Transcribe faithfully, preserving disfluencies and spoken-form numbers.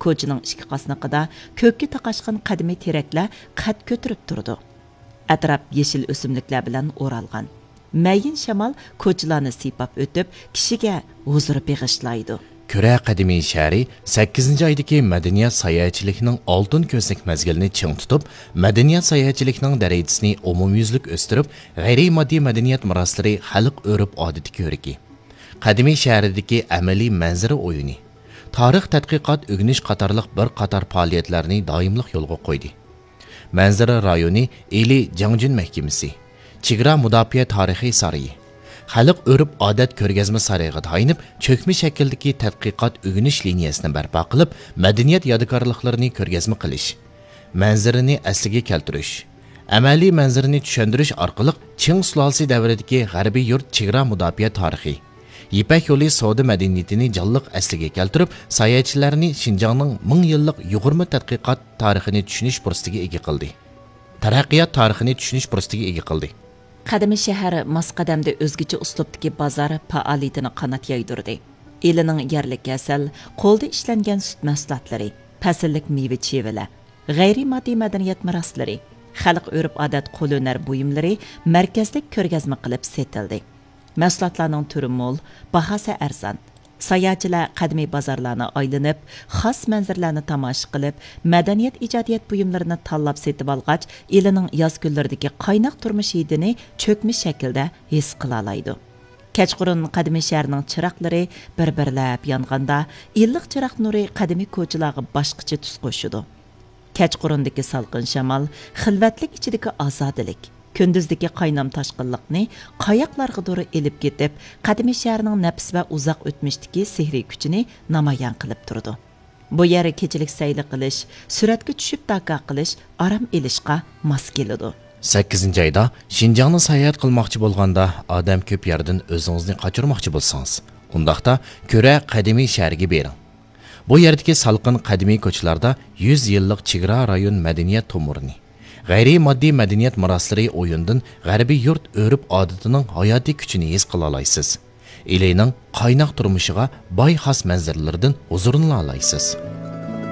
كوچىنىڭ ئىككى قاسنىقىدا كۆككە تاقاشقان قەدىمىي تېرەكلەر قەد كۆتۈرۈپ تۇرىدۇ. ئەتراپ يېشىل ئۆسۈملۈكلەر بىلەن ئورالغان. مەيىن شامال كوچىلارنى سىيپاپ ئۆتۈپ، كىشىگە ھۇزۇر بېغىشلايدۇ. كۆرە قەدىمىي شەھىرى سەككىزىنچى ئايدىكى مەدەنىيەت ساياھەتچىلىكىنىڭ ئالتۇن كۆزنەك مەزگىلىنى چىڭ تۇتۇپ، مەدەنىيەت ساياھەتچىلىكىنىڭ دەرىجىسىنى ئومۇميۈزلۈك ئۆستۈرۈپ، غەيرىي ماددىي مەدەنىيەت مىراسلىرى خەلق ئۆرپ-ئادىتى كۆرىكى، قەدىمىي شەھەردىكى ئەمەلىي مەنزىرە ئويۇنى، تارىخ، تەتقىقات، ئۆگىنىش قاتارلىق بىر قاتار پائالىيەتلەرنى دائىملىق يولغا قويدى. مەنزىرە رايونى ئىلى جاڭجۈن مەھكىمىسى، چېگرا مۇداپىئە تارىخىي سارىيى، خەلق ئۆرپ-ئادەت كۆرگەزمە سارىيىغا تايىنىپ، چۆكمە شەكىلدىكى تەتقىقات ئۆگىنىش لىنىيەسىنى بەرپا قىلىپ، مەدەنىيەت يادىكارلىقلىرىنى كۆرگەزمە قىلىش، مەنزىرىنى ئەسلىگە كەلتۈرۈش، ئەمەلىي مەنزىرىنى چۈشەندۈرۈش ئارقىلىق چىڭ سۇلالىسى دەۋرىدىكى غەربىي يۇرت چېگرا مۇداپىئە تارىخى، يىپەك يولى سودا مەدەنىيىتىنى جانلىق ئەسلىگە كەلتۈرۈپ، ساياھەتچىلەرنى شىنجاڭنىڭ مىڭ يىللىق يۇغۇرما تەتقىقات تارىخىنى چۈشىنىش پۇرسىتىگە ئىگە قىلدى. تەرەققىيات تارىخىنى چۈشىنىش پۇرسىتىگە ئىگە قىلدى. قەدىمىي شەھەر ماس قەدەمدە ئۆزگىچە ئۇسلۇبتىكى بازار پائالىيىتىنى قانات يايدۇردى. ئىلىنىڭ يەرلىك ھەسەل، قولدا ئىشلەنگەن سۈت مەھسۇلاتلىرى، پەسىللىك مېۋە-چېۋىلەر، غەيرىي ماددىي مەدەنىيەت مىراسلىرى، خەلق ئۆرپ-ئادەت قولھۈنەر بۇيۇملىرى مەركەزلىك كۆرگەزمە قىلىپ سېتىلدى. مەھسۇلاتلارنىڭ تۈرى مول، باھاسى ئەرزان. ساياھەتچىلەر قەدىمىي بازارلارنى ئايلىنىپ، خاس مەنزىرىلەرنى تاماشا قىلىپ، مەدەنىيەت ئىجادىيەت بۇيۇملىرىنى تاللاپ سېتىۋالغاچ، ئىلىنىڭ ياز كۈنلىرىدىكى قايناق تۇرمۇش ھىدىنى چۆكمە شەكىلدە ھېس قىلالايدۇ. كەچقۇرۇن قەدىمىي شەھەرنىڭ چىراغلىرى بىر-بىرلەپ يانغاندا، ئىللىق چىراغ نۇرى قەدىمىي كوچىلارغا باشقىچە تۈس قوشىدۇ. كەچقۇرۇندىكى سالقىن شامال، خىلۋەتلىك ئىچىدىكى ئازادىلىك، كۈندۈزدىكى قاينام تاشقىنلىقنى قاياقلارغىدۇر ئېلىپ كېتىپ، قەدىمىي شەھەرنىڭ نەپىس ۋە ئۇزاق ئۆتمۈشتىكى سېھرىي كۈچىنى نامايان قىلىپ تۇرىدۇ. بۇ يەر كېچىلىك سەيلە قىلىش، سۈرەتكە چۈشۈپ داكا قىلىش، ئارام ئېلىشقا ماس كېلىدۇ. سەككىزىنچى ئايدا شىنجاڭنى ساياھەت قىلماقچى بولغاندا، ئادەم كۆپ يەردىن ئۆزىڭىزنى قاچۇرماقچى بولسىڭىز، ئۇنداقتا كۆرە قەدىمىي شەھەرگە بېرىڭ. بۇ يەردىكى سالقىن قەدىمىي كوچىلاردا يۈز يىللىق چېگرا رايون مەدەنىيەت تومۇرىنى، غەيرىي ماددىي مەدەنىيەت مىراسلىرى ئويۇندىن غەربىي يۇرت ئۆرپ-ئادىتىنىڭ ھاياتىي كۈچىنى ھېس قىلالايسىز. ئىلىنىڭ قايناق تۇرمۇشىغا باي خاس مەنزىرىلىرىدىن ھۇزۇرلىنالايسىز.